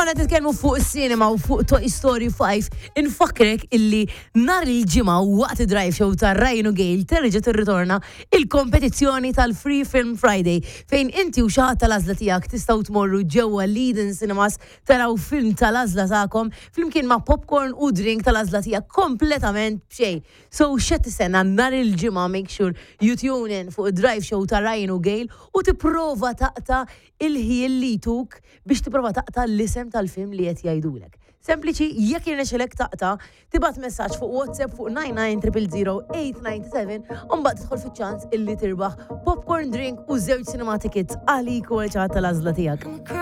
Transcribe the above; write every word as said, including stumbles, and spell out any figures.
Konna titkellmu fuq is-cinema u fuq Toy Story five. Infakrek illi nhar il-Ġimgħa waqt Drive Show ta' Ryan u Gail terġa' tirritorna il-kompetizzjoni tal-Free Film Friday, fejn inti u xi ħadd tal-għażla tiegħek tistgħu tmorru ġewwa Leading Cinemas, taraw film tal-għażla tagħkom flimkien ma' popcorn u drink tal-għażla tiegħek kompletament b'xejn. So x'qed tistenna? Nhar il-Ġimgħa make sure you tune in fuq Drive Show ta' Ryan u Gail u tipprova taqta' il-ħin li jtuk biex tipprova taqta' l-isem tal-film li qed jgħidulek. Sempliċi, jekk jirnexxilek taqta', tibgħat messaġġ fuq WhatsApp fuq nine nine zero zero zero eight nine seven u mbagħad tidħol fiċ-ċans illi tirbaħ popcorn, drink u żewġ cinema tickets għalik u għal tal-għażla tiegħek.